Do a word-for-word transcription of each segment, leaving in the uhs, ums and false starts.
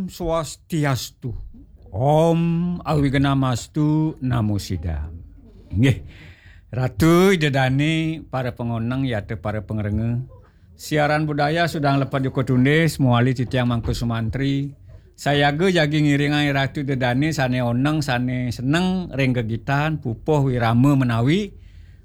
Swastiastu. Om Awignamastu Namo Sidam. Nggih. Ratu Ida Dane, para pangoneng yata para pangrengga. Siaran budaya sudah lepet juga tunis, muali titiang Mangku Sumantri. Sayaga jagi ngiringang Ratu Ida Dane sane oneng, sane seneng ring gegitan, pupuh wirama menawi.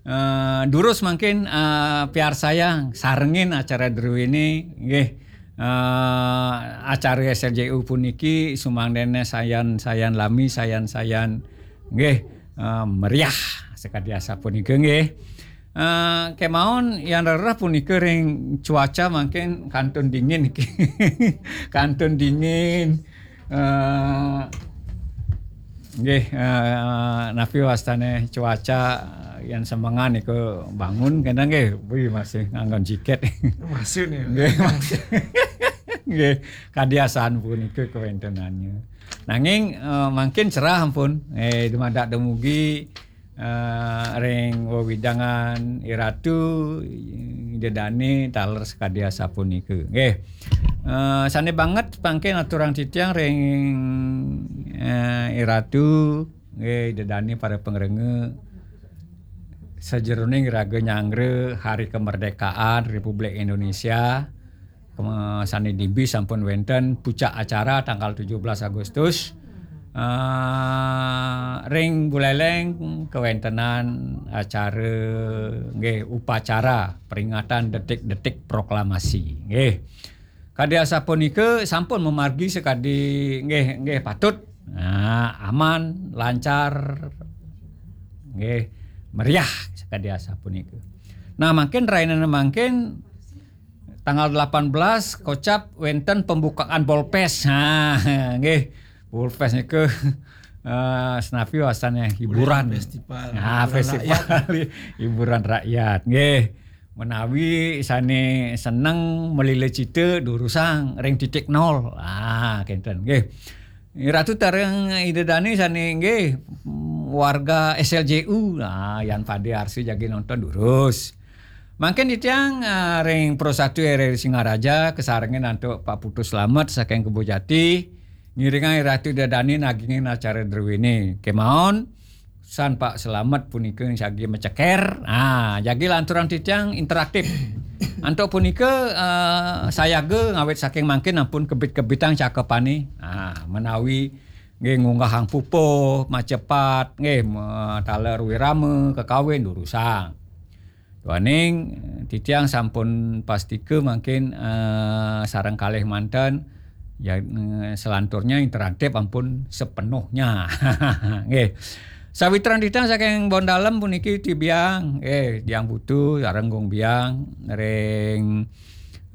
Eh, durus mangkin, eh, piarsayang sarengin acara druene, nggih. Eh, acara S L J U puniki sumangdene sayan-sayan lami, sayan-sayan, nggih, eh, meriah sakadi asapunika, nggih. Eh, kemawon yan rereh punika ring cuaca mangkin kantun dingin niki. Kantun dingin. Eh, nggih, eh, napi wastane cuaca, eh, yan semengan niku bangun kena nggih, wih, masih nganggon jaket. Masih nih. Nggih, masih. Nggih, kadi asan punika kawentenannya. Nanging, eh, mangkin cerah ampun. Eh, dumadak dumugi, eh, ring wewidangan Iratu, Ida Dane taler sakadi asapunika. Nggih. Eh, sane banget mangkin aturang titiang ring, eh, Iratu, nggih, Ida Dane para pangrengga, sajeroning raga nyanggra Hari Kemerdekaan Republik Indonesia, kema-, sane dibi sampun wenten puncak acara tanggal tujuh belas Agustus. Eh, ring Buleleng kawentenan acara, nggih, upacara peringatan detik-detik proklamasi. Nggih. Kadi asapunika sampun mamargi sakadi, nggih, nggih, patut. Nah, aman, lancar, nggih, meriah sakadi asapunika. Nah, mangkin rainane mangkin tanggal delapan belas kocap wenten pembukaan Polfest. Nah, nggih. Polfest nika, eh, senapi wastane hiburan. Festival. Nah, hiburan festival rakyat. Hiburan rakyat, nggih. Menawi sane seneng melila cita durusang ring titik nol. Ah, kenten, nggih. Ratu tareng Ida Dane sane, nggih, warga S L J U. Ah, yan pade arsi jagi nonton durus. Mangkin titiang, ah, ring Pro Satu R R I Singaraja kasarengin antuk Pak Putu Slamet saking Kebo Jati, ngiringang Ratu Ida Dane nagingin acara druene. Kemawon, san Pak Slamet punika jagi maceker. Ah, jagi lanturang titiang interaktif. Antuk punika, eh, sayaga ngawit saking mangkin ampun kebit-kebitang cakepane. Ah, menawi nggih ngunggahang pupuh, macepat, nggih, me-, taler wirama, kakawin, durusang. Duaning, eh, titiang sampun pastika mangkin, eh, sareng kalih manten, ya, eh, selanturnya interaktif ampun sepenuhnya. Nggih. Sawitran titiang saking Bondalem puniki tibiang, nggih, Diang Putu, sareng Gung Biang, ring,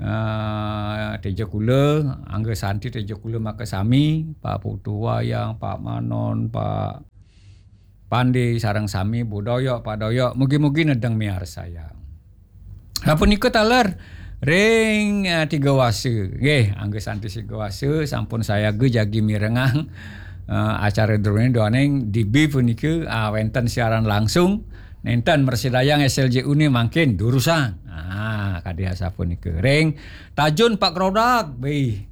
eh, Teja Kula, Angga Santi Teja Kula makasami, Pak Putu Wayang, Pak Manon, Pak Pande sareng sami, Bu Doyok, Pak Doyok, mugi-mugi nedeng miarsayang. Sapunika taler ring, eh, Tiga Wasa. Nggih, Angga Santi Tiga Wasa sampun sayaga jagi mirengang, eh, acara druene duaning dibi punika, ah, wenten siaran langsung, nenten mrasidayang S L J U ne mangkin durusang. Ah, kadi asapunika. Ring Tajun Pak Krodak, wih.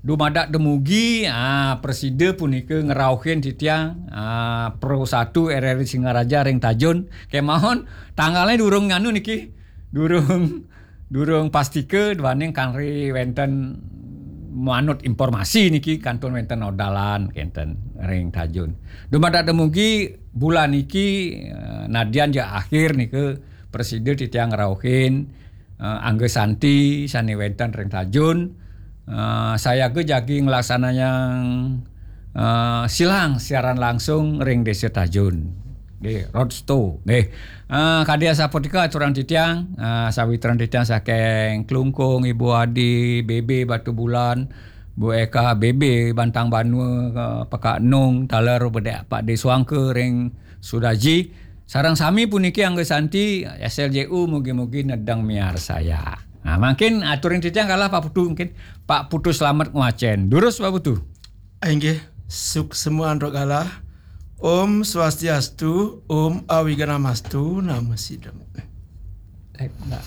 Dumadak dumugi, ah, prasida punika ngrauhin titiang, ah, Pro Satu R R I Singaraja ring Tajun. Kemawon, tanggalnya durung nganu niki, durung, durung pastika, duaning kanri wenten manut informasi niki, kantun wenten odalan, kenten ring Tajun. Dumadak dumugi bulan niki, eh, nadyan ja akhir nika, prasida titiang ngrauhin, eh, Angga Santi sane wenten ring Tajun, eh, sayaga jagi nglaksanayang, eh, silang siaran langsung ring Desa Tajun. Nggih, roadshow. Nggih. Eh, kadi asapunika aturang titiang, eh, sawitran titiang saking Klungkung, Ibu Adi, B B Batubulan, Bu Eka, B B Bantang Banua, eh, Pekak Nung, taler Bedek Pak De Suangka ring Sudaji. Sareng sami puniki Angga Santi, S L J U, mugi-mugi nedeng miarsaya. Nah, mangkin aturin titiang kalah Pak Putu, mungkin Pak Putu Slamet ngwacen. Durus Pak Putu. Inggih, suksma antuk kalah. Om Swastiastu, Om Awignamastu, Namo Sidam. Eh, enggak.